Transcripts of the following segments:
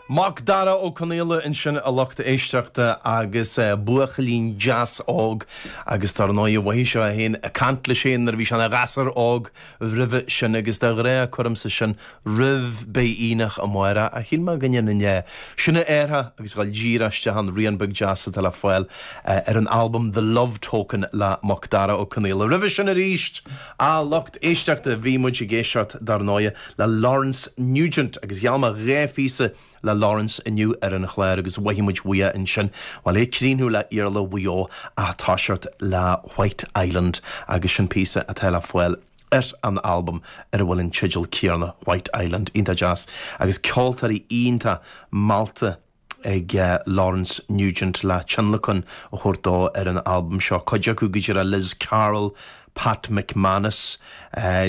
Macdara Ó Conaola ansin a lucht éisteachta agus buachaillín deas óg agus dar ndóigh mhothaigh sé é féin ag caint leis féin nuair a bhí sé ina ghasúr óg roimhe sin agus de ghnáth cuirimse sin roimh beidh aonach amárach ach shíl mé go ndéanfainn é sin a athrú agus dhul díreach isteach an rian beag deas atá le fáil ar an albam The Love Token le Macdara Ó Conaola. Roimhe sin arís a lucht éisteachta bhí muid ag éisteacht dar ndóigh le Laurence Nugent agus gheall mé 2 phíosa le Laurence inniu ar an chlár agus mhothaigh muid uaidh ansin, bhuel, é ag críochnú le Iarla Mhaigh Eo ach toiseacht le White Island agus sin píosa atá le fáil ar an albam ar a bhfuil an teideal céanna, White Island. Iontach deas agus ceoltóirí iontach meallta. ag Laurence Nugent le tionlacan a thabhairt dó ar an albam seo, cuid acu go díreach Liz Carroll, Pat McManus,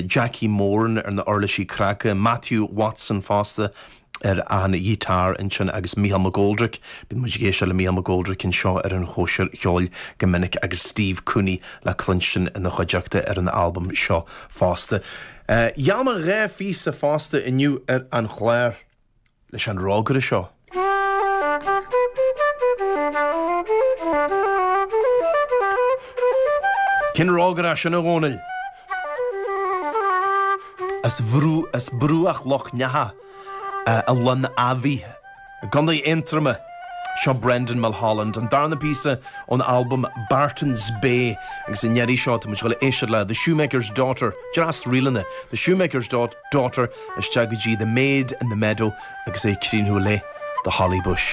Jackie Moran ar na uirlisí craice, Matthew Watson fosta ar an ghiotár ansin agus Mícheál McGoldrick, bíonn muid ag éisteacht le Mícheál McGoldrick anseo ar an Chóisir Cheoil go minic agus Steve Cooney le cluinstin ina chuideachta ar an albam seo fosta. Gheall mé 2 phíosa fosta inniu ar an chlár. leis an rógaire seo. Cén rógaire é sin, a Dhónaill? As bhrú, as bruach Loch Neacha i Linn Eamhaigh, i gContae Aontroma. Seo Brendan Mulholland, an darna píosa ón albam Barton's Bay agus i ndeireadh seo tá muid ag dul a éisteacht le The Shoemaker's Daughter, dreas ríleanna, The Shoemaker's Daughter isteach go dtí The Maid in the Meadow agus é ag críochnú le The Holly Bush.